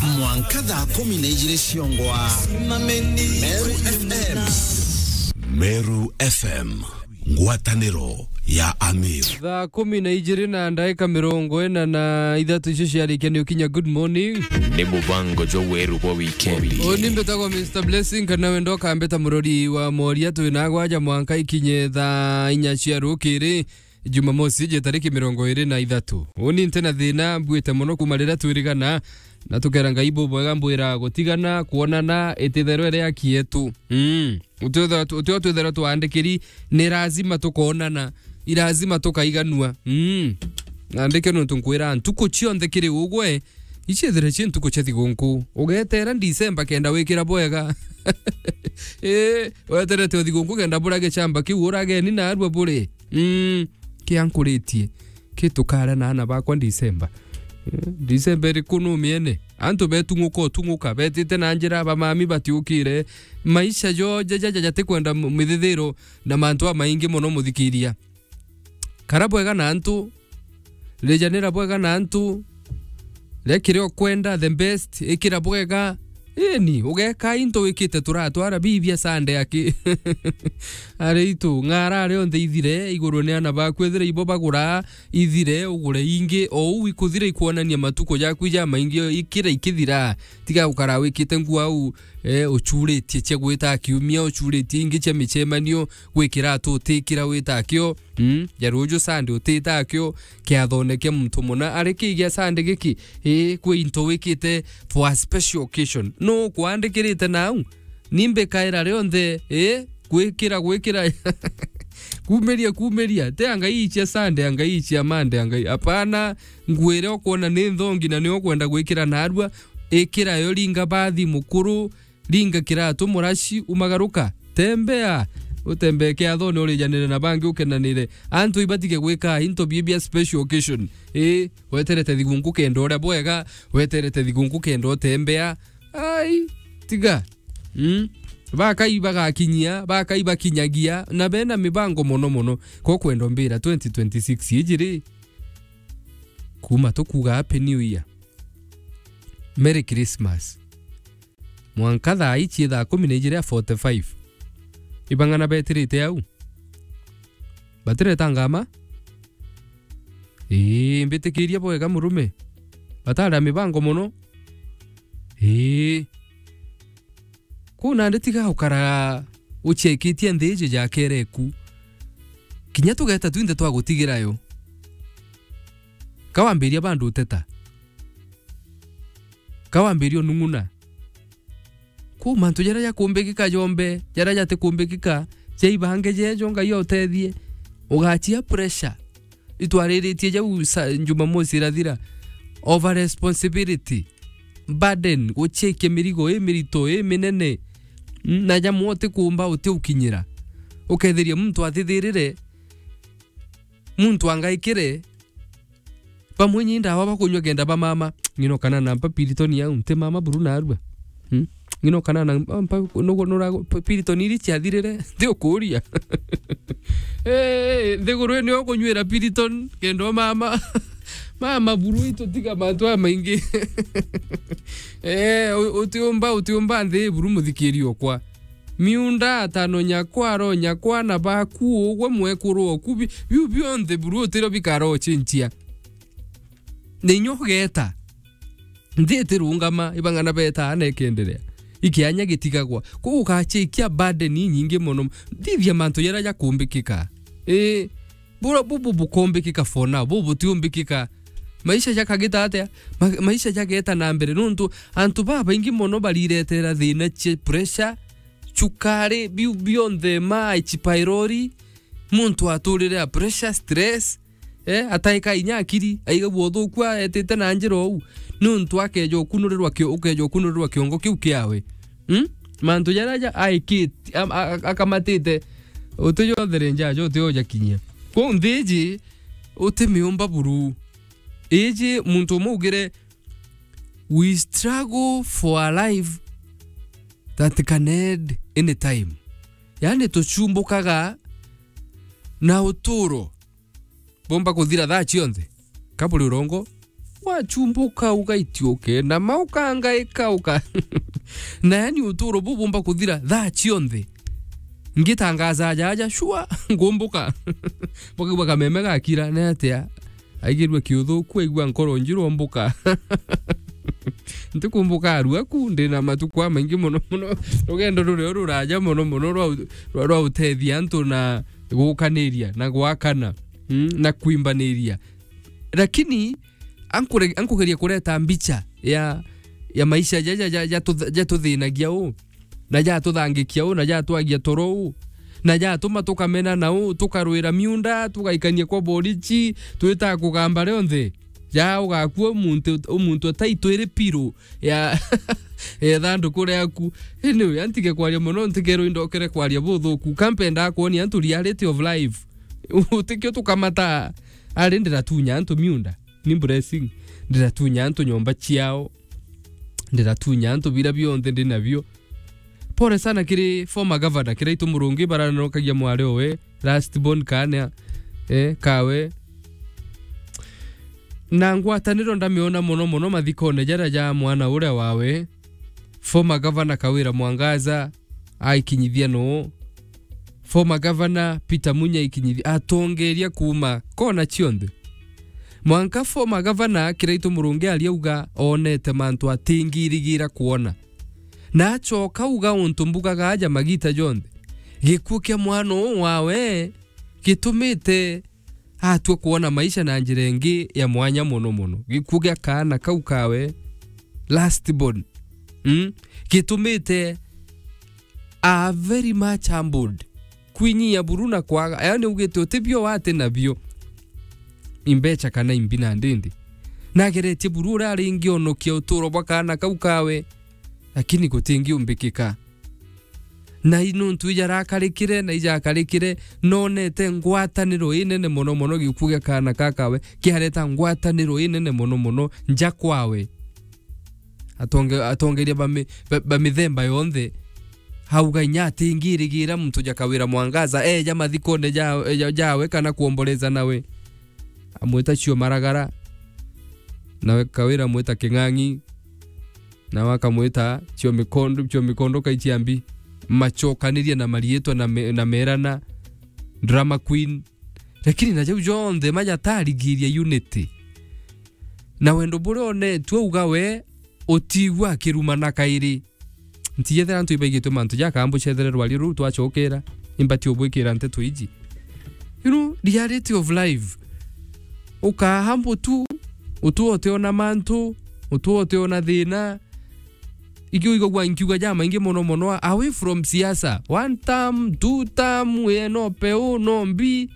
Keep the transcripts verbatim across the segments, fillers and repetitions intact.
Mwanka thaa kumi na ijiri ciongwa. Meru F M. Meru F M, ngwataniro ya Amiru. Thaa kumi na ijiri na ndaika mirongo ina na ithatu icio ciarikia ni ukinya. Good morning. Ni mubango jwa weru bwa wikendi. Uni mbitagwo Mister Blessing, kana wenda ukambita murori wa moria. Twina gwaja mwanka ikinye thaa inya cia rukiri. Jumamosi, je tariki mirongo iri na ithatu. Uni nti na thina, mbuite mono kuma riria twirigana, na tukera Ngai bubwega, mbwira gutigana, kwonana, ititherwe ria kietu. Mm. Utio, utio twitherwa twandikiri, ni lazima tukonana, i lazima tukaiganua. Mm. Nandike nontu nkwira, ntuku cionthe kiri ugwe, iciethire ci ntuku cia thigunku. Ugetera December kenda wikira bwega. Ii, weterete o thigunku kenda bura gicamba kiu urageni narua buri. Mm, kia nkuritie. Ki tukara na ana bakwa December. Eh, December iriku numiene? Antu betung'uka utung'uka, betite na njira, bamami batiukire. Maisha jo jaja jaja jatikwenda m-, mithithiro na mantu amaingi mono muthikiria. Kara bwega na antu, rijanira bwega na antu, ria kiria ukwenda, the best, ikira bwega. Ini, ugeka into wikite turatwara bibia Sunday aki. Ari itu, ng'ara ari onthe ithire, iguru ni ana baku, ethira ibo bagura, ithire, ugure ingi, o uu ikuthira ikwonania matuku jaku jamaingi, ikira ikithira. Tiga gukara wikite nguo au, eh, uchuritie cia gwita kiumia, uchuritie ingi cia micemanio, gwikira atu utikira wita kio. Mm, ja ruju Sunday utita kio kiathone kia muntu muna. Ari ki gia Sunday giki, ii, kwi into wikite for a special occasion. Nu ukwandikirite nau? Ni mbikaira rionthe, ii, gwikira, gwikira. Kumiria, kumiria. Ti angai icia Sunday, angai icia Monday, angai. Apana, nguo iria ukwona ni nthongi na nio ukwenda gwikira narua, ikira yo, ringa bathi mukuru, ringa kiratu muraci, umagaruka. Tembea. Utembee kiathone, urijanire na bangi, ukenanire. Antu ibatige gwika into bia bia special occasion. Ii, weterete thigunku kenda uria bwega, weterete thigunku kenda utembea. Ai, tiga. Mm. Bakai bagakinyia, bakai bakinyagia, na bena mibango mono mono. Ko kwenda mbira twenty twenty-six iji ri, kuma tukuga Happy New Year, Merry Christmas. Mwanka thaa ici thaa kumi na ijiri ya forty-five. Ibang'ana betirite au. Batireta ngama? Ii, mbitikiria bwega murume. Batari a mibango mono. Ii. Kuu nandi tiga ukara uchekitie nthi iji jakere ku. Kinya tugeta twinthe twagutigira yo. Ka wambiria bandu uteta. Ka wambiria unung'una. Kuu mantu jaria jakumbikika jombe, jaria jatikumbikika, jaibange jejo Ngai autethie. Ugachia pressure. Itwariritie jau sa-, Jumamosi irathira. Over responsibility. Burden, guchekia mirigo imirito, iminene. Mm, na jamwe utikumba, utiukinyira. Ukethiria muntu athithirire, muntu angaikire, bamwe nyi ndawa bakunywa kenda bamama. Ng'ino kana na mpa Piriton yau, nti mama buru narua. Hmm? Ng'ino kana na mpa, nugu-, nura-, Piriton iri ciathirire, nti ukuria. Eh, nthiguru ino ukunywira Piriton, kenda mama. Mama buru itu tiga mantu aya maingi. Eh, u-, utiumba, utiumba nthi buru muthikiri okwa. Miunda, atano nyakwa, aro nyakwa, na baku, ugwe mwekuru oku, bi-, biu bionthe buru utirio bikara ucinchia. Na inya ugeta. Nthi itirungama, ibang'ana betaa na ikenderea. Ikianya gitigagwa. Kwou ugachikia burden inyingi mono. Thithia mantu jaria jakumbikika. Ii, bura bubu bukumbikika for now, bubu butiumbikika. Maisha jakagita atia? Ma-, maisha jageta na mbere. Nontu antu babaingi mono bariretera thina cia pressure, cukari, biu bionthe, ma H pylori, muntu aturire a pressure, stress, eh, ataika inya akiri, aigagua uthuku aetite na njira uu, niuntu akeja ukunurirwa kio-, ukeja ukunurirwa kiongo kiu kiawe. Hmm? Mantu jaria ja aikiti-, am-, a-, a-, akamatite, uti jonthe ri njajo, uti ojakinyia. Kwou nthi iji, uti miumba buru. Iji muntu umwe ugire, "We struggle for a life that can end anytime." Yani, tucumbukaga na uturo bumba kuthira thaa cionthe. Ka buri urongo, wachumbuka ugaitiuke, na maukangaika uka. Na yani uturo bubumba kuthira thaa cionthe. Ngitangaza aja aja, sure, ngumbuka. Bakaigua kameme gakira, ni atia? Aigirue kiuthuku, aigua nkoro njiru, ombuka. Ntikumbuka arua ku, ndina matuku amaingi mono mono. Rugendo rurio ruraja mono mono rwa u-, rwa, rwa utethia antu na gukaniria, na gwakana, mm, na kwimbaniria. Lakini ankure-, ankugeria kureta mbicha ya, ya maisha ja, ja, ja, ja tutha-, ja tuthinagia u, na ja tuthangikia u, na ja twagia toro u, na ja tuma tukamena na u, tukarwira miunda, tugaikania kwa borichi, twita kugamba rionthe. Ja ugakua muntu, muntu atai twiri piru ya, ya thanduku riaku. Anyway, antige kwaria mono, ntikerwe indokere kwaria buthuku. Kampenda kwonia antu reality of life. Utikio tukamata, ari ndiratunya antu miunda. Ni blessing. Ndiratunya antu nyomba ciao. Ndiratunya antu bira bionthe ndi nabio. Pole sana kiri former governor, Kiraitu Murungi, baranokagia mwari owe, last born kana, eh, kawe. Na ngwataniro ndamiona mono mono mathikone jaria ja mwana uria wawe, former governor Kawira Mwangaza, aikinyithia nuu? Former governor Peter Munya aikinyithia, atongeria kuuma kona cionthe. Mwanka former governor Kiraitu Murungi ariauga onete mantu atingirigira kwona. Na acoka uga untu mbugaga aja magita jonthe. Gikuu kia mwana uu wawe gitumite atua kwona maisha na njira ingi ya mwanya mono mono. Gikuu gia kaana kau kawe, last born, mm, gitumite a very much humbled. Kwinyia buru na kwaga, yaani ugite utibio wati nabio. Imbecha kana imbi na ndindi. Nageretie buru uria aringionokia uturo bwa kaana kau kawe, lakini gutingiumbikika. Na i nuntu ijarakarikire na ijakarikire, nonete ngwataniro inene mono mono gikuu gia kaana kakawe, kiareta ngwataniro inene mono mono nja kwawe. Atonge-, atongeria ba mi-, ba, ba mithemba yonthe, auga inya atingirigira muntu ja Kawira Mwangaza, eja mathikone ja, ja, jawe kana kuomboleza nawe. Amwita cio maragara, nawe Kawira amwita king'ang'i, nawe akamwita cio mikondo, cio mikondo kaiciambi. Macokanirie na mariitwa na me-, na merana, drama queen. Lakini na jau jonthe majatarigiria unity. Na wendo buria onetue uga we utigua akirumana kairi. Ntijethera antu ibaigitwe mantu jaka, ambucethere rwari ruu twacokera, imbati ubwikira nteto iji. You know, reality of life. Ukaha mbutu, utu utiona mantu, utu utiona thina. Iki uigagua nkiuga jamaingi mono mono, away from siasa. One term, two term, we no peu, no mbi.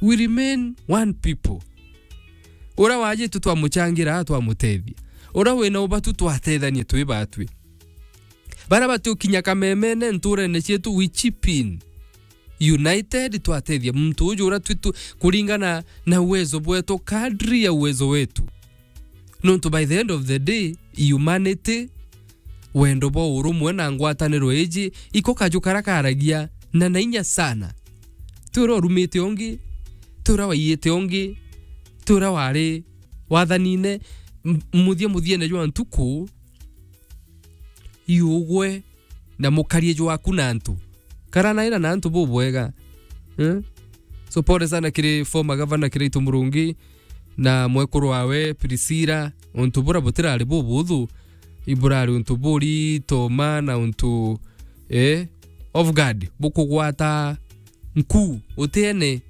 We remain one people. Uria wajitwe twamuchangira, twamutethia. Uria wina ubatu twatethanie twi batwi. Baria batiukinya kamemene nturene cietu, we chip in. United twatethia muntu uju uria twitu kuringana na uwezo bwetu, kadri ya uwezo wetu. Nontu by the end of the day, humanity, wendo bwa urumwe na ngwataniro iji, iko kaju karia karagia na na inya sana. Ti uria urumite ungi, ti uria waiyite ungi, ti uria wari wathanine, m-, muthia muthiene jwa ntuku, iugwe na mukarie jwaku na antu. Karanaira na antu bubwega. Eh? So pole sana kiri former governor Kiraitu Murungi na mwekuru wawe Priscilla, untu bura butirari bubuthu, iburari untu burito ma na untu, eh, of God, bukugwata nku, utiene,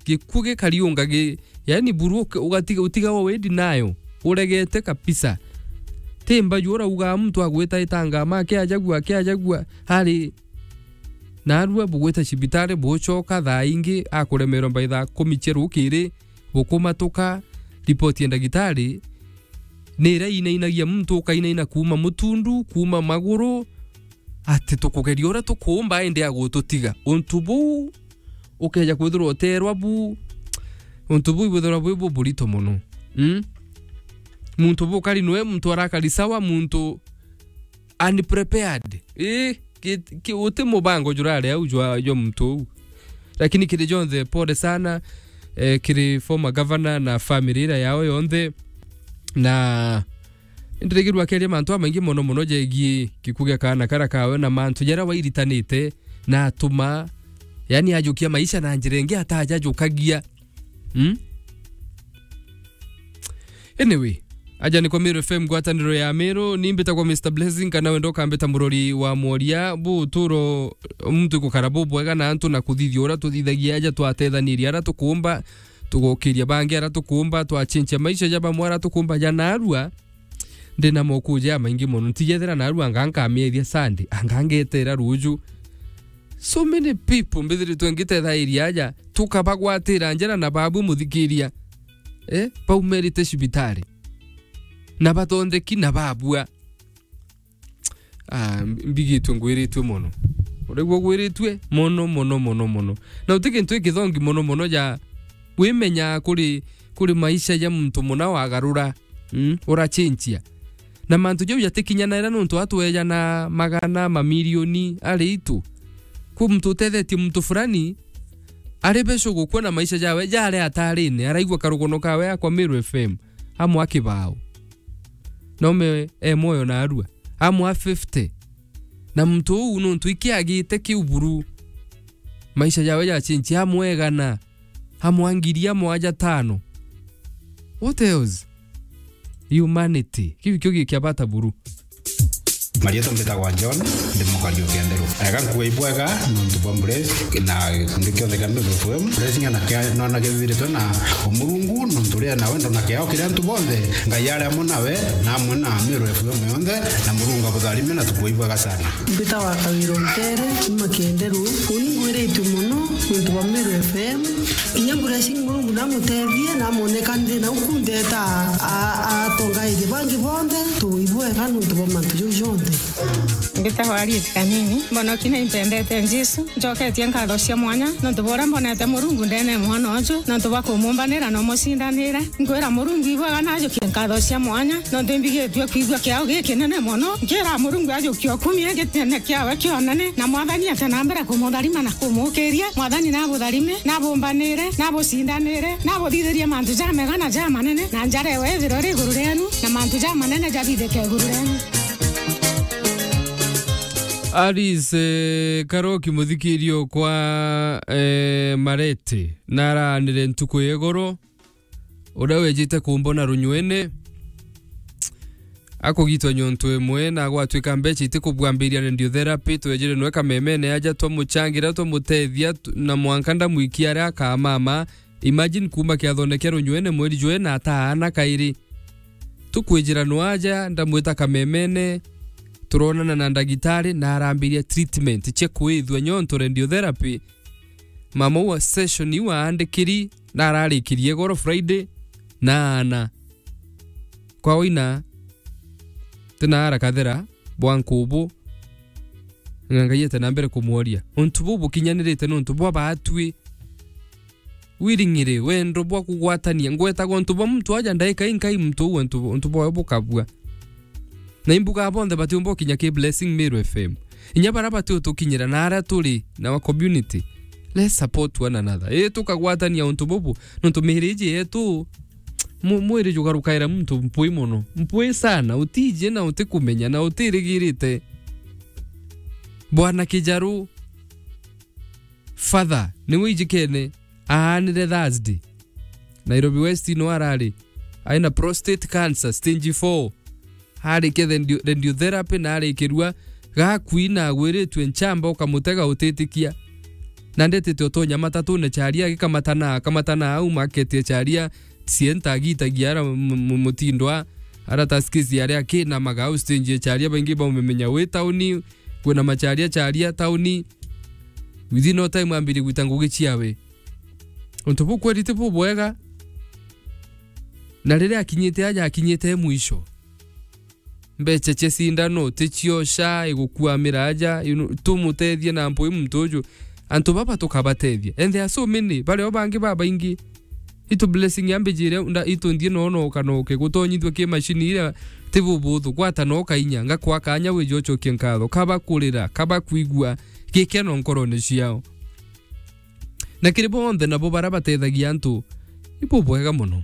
gikuu gikariunga gi-, yani buru uke-, ugatiga, utiga o wendi nayo, uregete kabisa. Ti mbaju urauga muntu agwita itangama, akiajagua, akiajagua, hari narua bugwita cibitari, bucoka thaa ingi, akuremerwa by thaa kumi cia rukiri, bukumatuka, ripoti ya ndagitari, ni iria inainagia muntu, ukainaina kuuma mutundu, kuuma maguru, ati tukugeria uria tukuumba, indi agututiga. Untu buu ukeja kwithirwa uteerwa bu, untu buu ibwithirwa bwi buburito mono. Mm? Muntu bukari nwe, muntu arakari sawa, muntu unprepared. Ii, ki, ki, uti mubango jurari au jwa, jwa muntu uu. Lakini kiri jonthe, pole sana, eh, kiri former governor na family iria yao yonthe. Na ndirigirwa akeria mantu amaingi mono mono jegie gikuu gia kaana kara kawe na mantu jaria wairitanite na atuma, yani, ajukia maisha na njira ingi atajajukagia. Hmm? Anyway, aja ni kwa Meru F M, ngwataniro ya Meru, ni mbitagwa Mister Blessing, kana wenda ukambita murori wa mworia. Bu uturo muntu ikukara bubwega na antu na kuthithia uria tuthithagia aja twatethaniria aria tukuumba, tugokiria bangi aria tukuumba, twachinchia maisha ja bamwe aria tukuumba ja narua. Ndina mokuja jamaingi mono. Ntijethira narua anga nkamiethia Sunday, anga ngetera ruju. So many people mbithiritwe ngitethairia aja, tukabagwatira njara na babu muthikiria. Eh, baumerite cibitari. Na bathondeki na babua. Ah, mb-, mbigitwe ngwiritue mono. Uraigua ugwiritue mono, mono, mono, mono. Na uti kintu gikithongi mono, mono ja wimenya kuri, kuri maisha ja muntu muna wagarura, mm, urachinchia. Na mantu jau jatikinyanaira nontu atwejana magana, mamilioni ari itu. Kwi muntu utethetie muntu fulani, ari beco gukua na maisha jawe jari atarine, araigua karugono kawe akwa Meru F M, amwa kibao. Naume e mwoyo na arua. Amwa fifty. Na muntu uu nontu ikiagite kiu buru. Maisha jawe jachinchia amwegana. Amwa ngiri amwaja tano. What else? Humanity. Kiu kio gikia bata buru. Marietwa mbitagwa John, ndi mukari o Kenderu. Ega nkuga ibwega nontu bwa Bless na gikundi kionthe kia Meru F M. Blessing na kia nona githiritwe na umurungu nontu ria na wendo na kiao kiria antu bonthe. Ngai ari amwe nawe na amwe na Meru F M yonthe, na Murungu abutharime na tukuga ibwega sana. Mbitagwa Kawira Ntere, kuma Kenderu. Uni ngwiritue mono nontu bwa Meru F M. Kinya Blessing Murungu namutethie, namoneka nthi na uku ndeta a, a, atongairie bangi bonthe, tuibwega nontu bwa mantu jau jonthe. Mbitagwa Harriet Kanini, mbonoki na impendete Jesu, njoketie nkatho cia mwanya, nontu bwa uria mbonete Murungu ndene mwana uju, nontu bwa kumumbanira na umucindanire. Nkwira Murungu ibwega najukie nkatho cia mwanya, nontu imbigitue kwigua kiao gikinene mono. Nkira Murungu ajukie ukumie gitene kiawe kionene, na Mwathani ate na mbere kumutharima na kumukiria. Mwathani nabutharime, nabumbanire, nabucindanire, nabuthithirie mantu jamega na jamanene, na njara ewe ithirwe iri iguru rienu, na mantu jamanene jabithike iguru rienu. Alice, eh, Karoki muthikirio kwa, eh, Marete, naraanire ntuku ya igoro. Uria wejite kumbona runywene, akugitwa nyontu imwe, na gwatuika mbeca itikubwambiriria radiotherapy, twejire nwe kamemene aja twamuchangira, twamutethia, tu-, na mwanka ndamwikia aria akamama. Imagine kuma kiathone kia runywene mweri jwe na ataana kairi. Tukwijira nwe aja, ndamwita kamemene, turonana na ndagitari, na arambiria treatment cia kwithua nyontu radiotherapy. Mama wa session iu aandikiri na ararikirie goro Friday na ana. Kwa waina, tina ara kathera bwa nkubu, na Ngai ete na mbere kumworia. Untu buu bukinyanirite nontu bwa baatwi. Wiring'iri, wendo bwa kugwatania. Ngwetaga untu bwa muntu aja ndaika inkai muntu uu untu, untu bwawe bukabua. Na imbuga bonthe batiumba ukinya ki Blessing Meru F M. Inya bara bati utukinyira na ara turi na wa community. Let's support one another. Ii tukagwatania untu bubu, nontu miiri iji yetu, mu-, mwiri jugarukaira muntu mpui mono. Mpui sana, utiji na utikumenya na utirigirite. Bwana Kijaru, Father, niwe ijikene, aanire Thursday. Nairobi West no arari. Aina prostate cancer, stage four. Arikia radio-, radiotherapy na arikirua gakui na agwiritue nchamba ukamutega utitikia. Na ndetete utonya matatune charia agikamatana, akamatana au maketie charia, sienta agitagia ara m-, m-, mutindo a, ara taskisi aria akinamaga au stage ya charia baingi baumemenya wi tauni, kwina macharia charia tauni. Within no time ambiri gwita ngugi ciawe. Untu buu kweri ti bubwega. Na riria akinyite aja, akinyite mwisho. Mbeca cia cindano, ti cio sha, igukuamira aja, you know, tumutethie na mpui muntu uju. Antu baba tukabatethia. And there are so many, bario bangi babaingi. Itu Blessing ambijire, nda-, itu nthie no, no, kanoke, gutonyithua ki machine iria ti bubuthu, gwata no kainya, ngakwa kanya wije ucokie nkatho, kaba kurira, kaba kwigua gikeno nkorone ciao. Na kiri bonthe nabo bara batethagia antu, ibu bwega mono.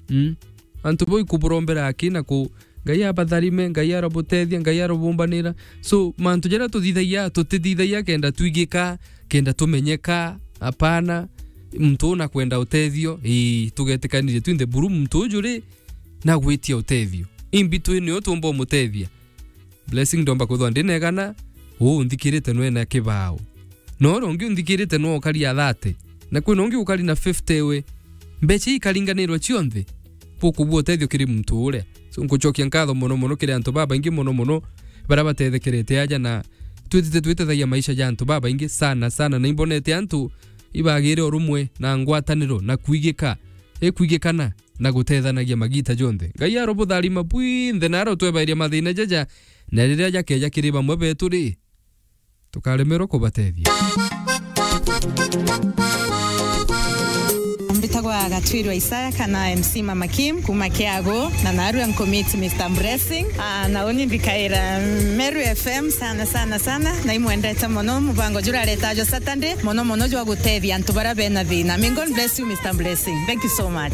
Mm. Antu bau ikuburombera aki na ku, Ngai abatharime, Ngai arobutethia, Ngai arobumbanira. So, mantu jaria tuthithagia, tutithithagia kenda twigika, kenda tumenyeka. Apana, muntu una kwenda utethio, ii, tugetikanirie twinthe buru muntu uju ri, na gwitia utethio. Imbi twi nio tumba umutethia. Blessing, ndomba kwithwa ndinegana, uu nthikirite nwena kibao. Na uria ungi unthikirite nwa ukari a thirty. Na kwina ungi ukari na fifty we. Mbeca ikaringanirwa cionthe. Bukubua utethio kiri muntu uria. So, nkucokia nkatho mono mono kiri antu babaingi mono mono baria batethekerete aja na twitite twitethagia maisha ja antu babaingi sana sana. Na imbonete antu ibagire urumwe na ngwataniro na kwigika. Ikwigikana. Na gutethanagia magita jonthe. Ngai arobutharima bwinthe na arotwebairia mathina jaja, na riria jakeja kiri bamwe betu ri, tukaremerwa kubatethia. Mbitagwa Gatwirwa Isaya kana M C Mama Kim kuma Kiagu, na narua nkumiti Mister Blessing. Ah, na uni mbikaira Meru F M sana sana sana, na imwendete mono mubango jura aretajo Saturday, mono mono jwa gutethia antu bara bena thina. May God bless you, Mister Blessing. Thank you so much.